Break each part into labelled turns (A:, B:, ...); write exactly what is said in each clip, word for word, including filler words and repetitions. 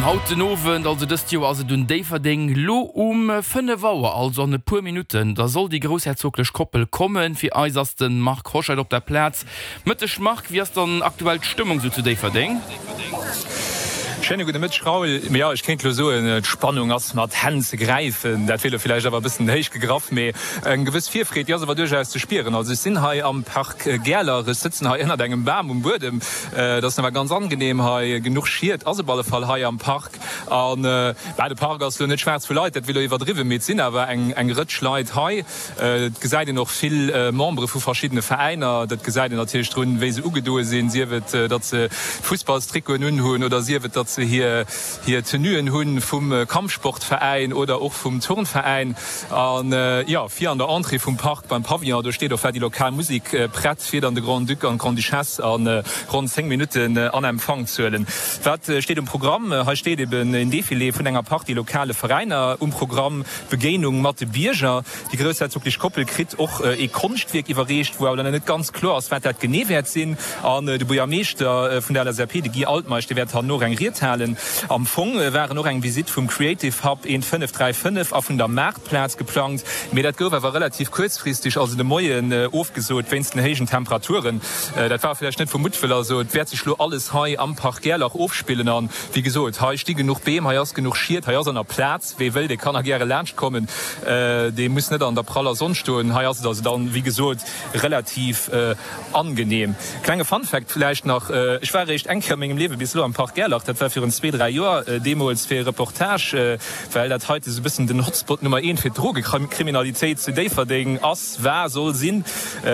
A: An haut den Owend, also dëst Joer ass et un Déifferdeng, lo um fënnef Auer, also an e puer Minutten, da soll déi groussherzoglech Koppel kommen. Fir eis ass de Marc Hoscheid op der Plaz. Mëtteg Marc, wéi ass dann aktuell d'Stëmmung sou zu Déifferdeng?
B: Schéine gudde Mëtteg Raoul. Jo, ech kéint elo soen, d'Spannung ass mat Hänn ze gräifen. Dat wier elo villäicht awer e bëssen héich gegraff, mee eng gewëss Virfreed, déi ass awer duerchaus ze spieren. Also ech sinn hei am Park Gäerler, ech sëtzen hei ënnert engem Bam um Buedem. Et ass nawell ganz angenehm hei, genuch Schied ass op alle Fall hei am Park. An bah, de Park ass elo net schwaarz vu Leit, dat wier elo iwwerdriwwen, mee et sinn awer eng eng Rëtsch Leit hei. Et gesäit een och vill Membere vu verschiddene Veräiner. Dat gesäit een natierlech drun, wéi se ugedoe sinn, sief et, datt se Fussballstrikoten unhunn oder sief et, datt se hir hir Tenuen hu vum Kampfsportveräin oder och vum Turnveräin. An jo, vir an der Entrée vum Park beim Pavillon, do steet och war déi lokal Musek prett, fir dann de Grand-Duc an d'Grande-Duchesse a ronn zéng Minutten an Empfang ze huelen. Wat steet um Programm? Hei steet eben een Defilé vun enger Partie lokale Veräiner um Programm, d'Begéinung mat de Bierger. Déi groussherzoglech Koppel kritt och ee Konschtwierk iwwerreecht, wou awer nach net ganz kloer ass, wat dat genee wäert sinn. An de Buergermeeschter vun der L S A P, de Guy Altmeisch, dee wäert herno och eng Ried halen. Am Fong waren och eng Visitt vum Creative Hub eent fënnef dräi fënnef a vun der Maartplaz geplangt, mee dat gouf awer relativ kuerzfristeg, also de Moien, ofgesot wéinst den héijen Temperaturen. Dat war vläicht net vu Muttwëll. Also et wäert sech lo alles hei am Park Gerlach ofspillen. An wéi gesot, hei sti genuch Beem, hei ass genuch Schied, hei ass an der Plaz. Wee wëll, dee kann nach gäre laanscht kommen. Dee muss net an der praller Sonn stoen. Hei ass et also dann, wéi gesot, relativ angenehm. Klenge Fun Fact vläicht nach, Ech war eréischt eng Kéier a mengem Liewe bis elo am Park Gerlach. Dat war virun zwee, dräi Joer, deemools fir e Reportage, well dat heite sou e bëssen den Hotspot Nummer eent fir d'Drogekriminalitéit zu Déifferdeng ass, war, soll sinn.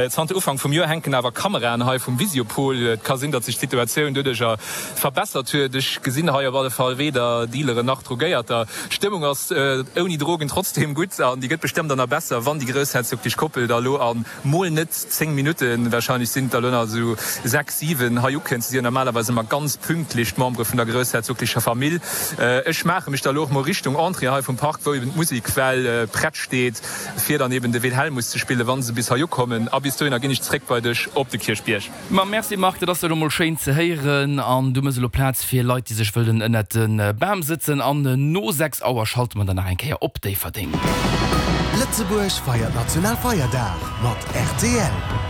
B: Zanter Ufank vum Joer hänken awer Kameraen hei vum Visiopol. Et ka sinn, datt sech d'Situatioun doduercher verbessert huet. Ech gesinn hei op alle Fall weder Dealeren nach Drogéierter. D'Stëmmung ass ouni Drogen trotzdeem gutt an déi gëtt bestëmmt dann nach besser, wann déi groussherzoglech Koppel da lo a mol net zéng Minutten, warscheinlech sinn et der lo nach esou sechs, siwen, hei ukënnt. Si sinn jo normalerweis ëmmer ganz pünktlech, d'Membere vun der groussherzoglecher Famill. Ech maache mech da lo och mol Richtung Entrée hei vum Park, wou eben d'Musek well prett steet, fir dann eben de Wilhelmus ze spillen, wa se bis hei ukommen. A bis dohinner ginn ech zréck bei dech op de Kierchbierg.
A: Ma merci Marc, dat ass jo lo mol schéin ze héieren. An du mëss elo Plaz fir Leit, déi sech wëllen ënnert de Bam sëtzen. An no sechs Auer schalte mer dann nach eng Kéier op Déifferdeng.
C: Lëtzebuerg feiert Nationalfeierdag mat R T L.